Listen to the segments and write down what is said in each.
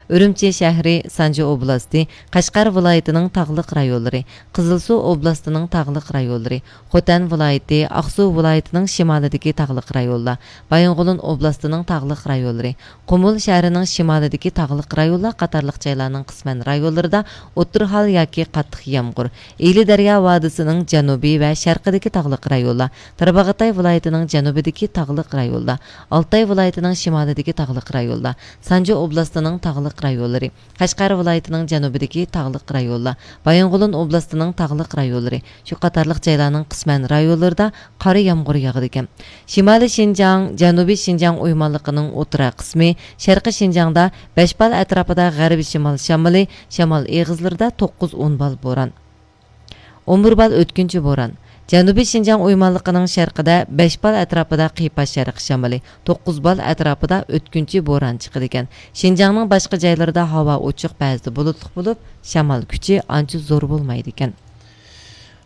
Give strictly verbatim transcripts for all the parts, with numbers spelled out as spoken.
ئۈرۈمچى شەھىرى، سانجى ئوبلاستى، قەشقەر ۋىلايىتىنىڭ تاغلىق رايونلىرى، قىزىلسۇ ئوبلاستىنىڭ تاغلىق رايونلىرى، خوتەن ۋىلايىتى، ئاقسۇ ۋىلايىتىنىڭ شىمالىدىكى تاغلىق رايونلار، بايىنغولىن ئوبلاستىنىڭ تاغلىق رايونلىرى، قۇمۇل شەھىرىنىڭ شىمالىدىكى تاغلىق رايونلار قاتارلىق جايلارنىڭ قىسمەن رايونلىرىدا ئوتتۇرا ھال ياكى قاتتىق يامغۇر، ئىلى دەريا ۋادىسىنىڭ جەنۇبىي ۋە شەرقىدىكى تاغلىق رايونلار، تارباغاتاي ۋىلايىتىنىڭ جەنۇبىدىكى تاغلىق رايونلار، ئالتاي ۋىلايىتىنىڭ شىمالىدىكى تاغلىق رايونلار، سانجى ئوبلاستىنىڭ تاغلىق رايونلىرى، قەشقەر ۋىلايىتىنىڭ جەنۇبىدىكى تاغلىق رايونلار، بايىنغولىن ئوبلاستىنىڭ تاغلىق رايونلىرى، شۇ قاتارلىق جايلارنىڭ قىسمەن رايونلىرىدا قارا يامغۇر ياغىدىكەن. شىمالىي شىنجاڭ، جەنۇبىي شىنجاڭ ئويمانلىقىنىڭ ئوتتۇرا قىسمى، شەرقىي شىنجاڭدا بەش بال ئەتراپىدا غەربىي شىمال شامىلى، شامال ئېغىزلىرىدا توققۇز ئون بال بوران. ئون بىر بال ئۆتكۈنچى بوران. جەنۇبىي شىنجاڭ ئويمانلىقىنىڭ شەرقىدە بەش بال ئەتراپىدا قىيپاش شەرقىي شامىلى، توققۇز بال ئەتراپىدا ئۆتكۈنچى بوران چىقىدىكەن. شىنجاڭنىڭ باشقا جايلىرىدا ھاۋا ئوچۇق، بەزىدە بۇلۇتلۇق بولۇپ، شامال كۈچى ئانچە زور بولمايدىكەن.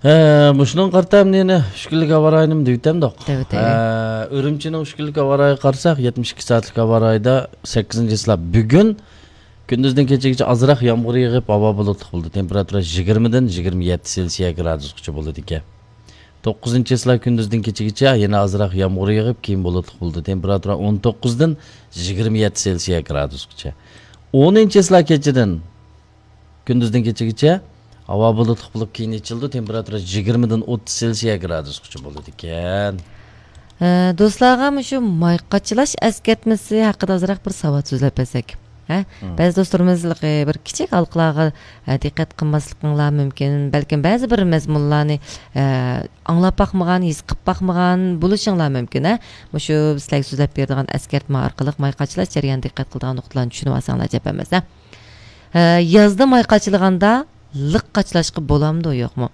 ھە، مۇشۇنىڭغا قارىتا ئەمدى يەنە ئۈچ كۈنلۈك ھاۋا رايىنىمۇ دېۋىتەمدۇق. دەۋېتەيلى. ھە، ئۈرۈمچىنىڭ ئۈچ كۈنلۈك ھاۋا رايىغا قارىساق، يەتمىش ئىككى سائەتلىك ھاۋا رايىدا سەككىزىنچى چىسلا بۈگۈن كۈندۈزدىن كېچىگىچە ئازراق يامغۇر يېغىپ، ھاۋا بۇلۇتلۇق بولىدۇ. تېمپېراتۇرا يىگىرمىدىن يىگىرمە يەتتە سېلسىيە گرادۇسقىچە بولىدىكەن. توققۇزىنچى چىسلا كۈندۈزدىن كېچىگىچە يەنە ئازراق يامغۇر يېغىپ، كېيىن بۇلۇتلۇق بولىدۇ. تېمپېراتۇرا ئون توققۇزدىن يىگىرمە يەتتە سېلسىيە گرادۇسقىچە. ئونىنچى چىسلا كېچىدىن كۈندۈزدىن كېچىگىچە ھاۋا بۇلۇتلۇق بولۇپ، كېيىن ئېچىلىدۇ. تېمپېراتۇرا يىگىرمىدىن ئوتتۇز سېلسىيە گرادۇسقىچە بولىدىكەن. ئە، دوستلارغا مۇشۇ ماي قاچىلاش ئەسكەرتمىسى ھەققىدە ئازراق بىر ساۋات سۆزلەپ بەرسەك. ھە؟ مم. بەزى دوستلىرىمىز بىر كىچىك ھالقىلارغا، ئە، دىققەت قىلماسلىقىڭلار مۇمكىن. بەلكىم بەزى بىر مەزمۇنلارنى، ئە، ئاڭلاپ باقمىغان، ھېس قىلىپ باقمىغان بولۇشۇڭلار مۇمكىن، ھە؟ مۇشۇ سىلەرگە سۆزلەپ بېرىدىغان ئەسكەرتمە ئارقىلىق ماي قاچىلاش جەريانىدا دىققەت قىلىدىغان نۇقتىلارنى چۈشىنىۋالساڭلار جەپ ئەمەس، ھە؟ ھە، يازدا ماي قاچىلىغاندا لىق قاچىلاشقا بولامدۇ، يوقمۇ؟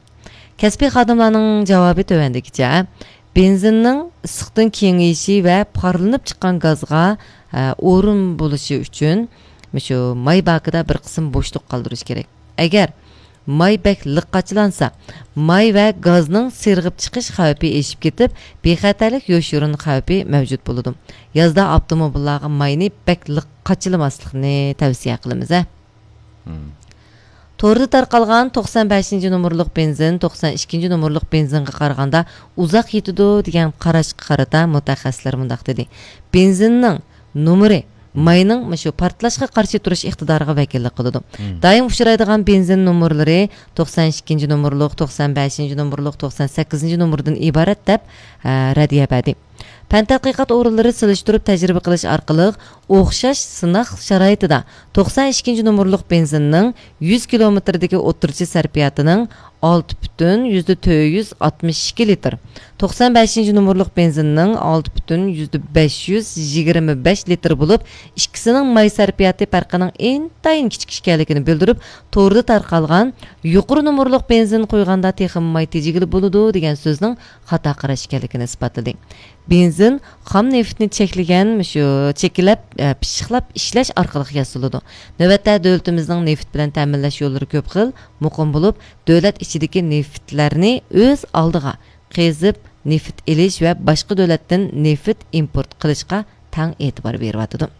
كەسپىي خادىملارنىڭ جاۋابى تۆۋەندىكىچە. بېنزىننىڭ ئىسسىقتىن كېڭىيىشى ۋە پارلىنىپ چىققان گازغا، ھە، ئورۇن بولۇشى ئۈچۈن مۇشۇ ماي باكىدا بىر قىسىم بوشلۇق قالدۇرۇش كېرەك. ئەگەر ماي بەك لىق قاچىلانسا، ماي ۋە گازنىڭ سىرغىپ چىقىش خەۋپى ئېشىپ كېتىپ، بىخەتەرلىك يوشۇرۇن خەۋپى مەۋجۇت بولىدۇ. يازدا ئاپتوموبىللارغا ماينى بەك لىق قاچىلىماسلىقنى تەۋسىيە قىلىمىز، ھە. مم. توردا تارقالغان توقسان بەشىنچى نومۇرلۇق بېنزىن توقسان ئىككىنچى نومۇرلۇق بېنزىنغا قارىغاندا ئۇزاق يېتىدۇ دېگەن قاراشقا قارىتا مۇتەخەسسىسلەر مۇنداق دېدى: بېنزىننىڭ نومۇرى ماينىڭ مۇشۇ پارتلاشقا قارشى تۇرۇش ئىقتىدارىغا ۋەكىللىك قىلىدۇ. مم. دائىم ئۇچرايدىغان بېنزىن نومۇرلىرى توقسان ئىككىنچى نومۇرلۇق، توقسان بەشىنچى نومۇرلۇق، توقسان سەككىزىنچى نومۇردىن ئىبارەت دەپ، ئە، رەددىيە بەردى. پەن تەتقىقات ئورۇنلىرى سېلىشتۇرۇپ تەجرىبە قىلىش ئارقىلىق ئوخشاش سىناق شارائىتىدا توقسان ئىككىنچى نومۇرلۇق بېنزىننىڭ يۈز كىلومېتىردىكى ئوتتۇرىچە سەرپىياتىنىڭ ئالتە پۈتۈن يۈزدە تۆت يۈز ئاتمىش ئىككى لىتىر، توقسان بەشىنچى نومۇرلۇق بېنزىننىڭ ئالتە پۈتۈن يۈزدە بەش يۈز يىگىرمە بەش لىتىر بولۇپ، ئىككىسىنىڭ ماي سەرپىياتى پەرقىنىڭ ئىنتايىن كىچىك ئىكەنلىكىنى بىلدۈرۈپ، توردا تارقالغان يۇقىرى نومۇرلۇق بېنزىن قۇيغاندا تېخىمۇ ماي تېجىگىلى بولىدۇ دېگەن سۆزنىڭ خاتا قاراش ئىكەنلىكىنى ئىسپاتلىدى. بېنزىن خام نېفىتنى چەكلىگەن مۇشۇ چېكىلەپ، ئە، پىششىقلاپ ئىشلەش ئارقىلىق ياسىلىدۇ. نۆۋەتتە دۆلىتىمىزنىڭ نېفىت بىلەن تەمىنلەش يوللىرى كۆپ خىل، مۇقىم بولۇپ، دۆلەت ئىچىدىكى نېفىتلەرنى ئۆز ئالدىغا قېزىپ، نېفىت ئېلىش ۋە باشقا دۆلەتتىن نېفىت ئىمپورت قىلىشقا تەڭ ئېتىبار بېرىۋاتىدۇ.